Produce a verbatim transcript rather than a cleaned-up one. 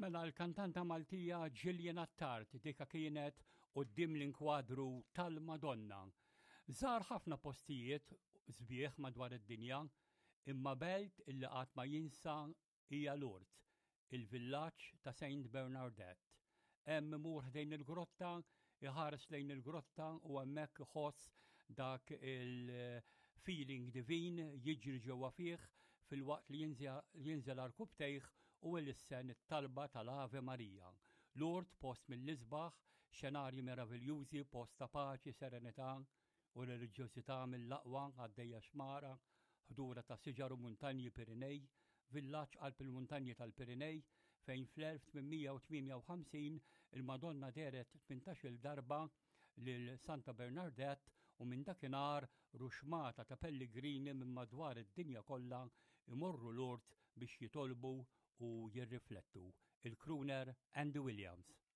Mela l-kantanta Maltija Gillian Attard dika kienet quddiem l-inkwadru tal-Madonna. Żar ħafna postijiet sbieħ madwar id-dinja, imma belt illi qatt ma jinsa hija Lourdes, il-villaġġ ta' Saint Bernadette. Hemm imur ħdejn il-grotta, iħares lejn il-grotta u hemmhekk iħoss dak il-feeling divin jiġri ġewwa fih filwaqt li jinżel għarkupptejh u ilissen it-talba tal-Ave Maria. Lourdes post mill-isbaħ, xenarji meraviljużi, post ta' paċi, serenità u reliġjożità mill-aqwa għaddejja xmara, ħdura ta' siġar u muntanji Pirinej, villaġġ qalb il-muntanji tal-Pirinej fejn fl-elf tmien mija u tmienja u ħamsin il-Madonna dehret tmintax-il darba lil Santa Bernadette u minn dakinhar ruxxmata ta' pellegrini minn madwar id-dinja kollha imorru Lourdes biex jitolbu u jirriflettu. Il-crooner Andy Williams.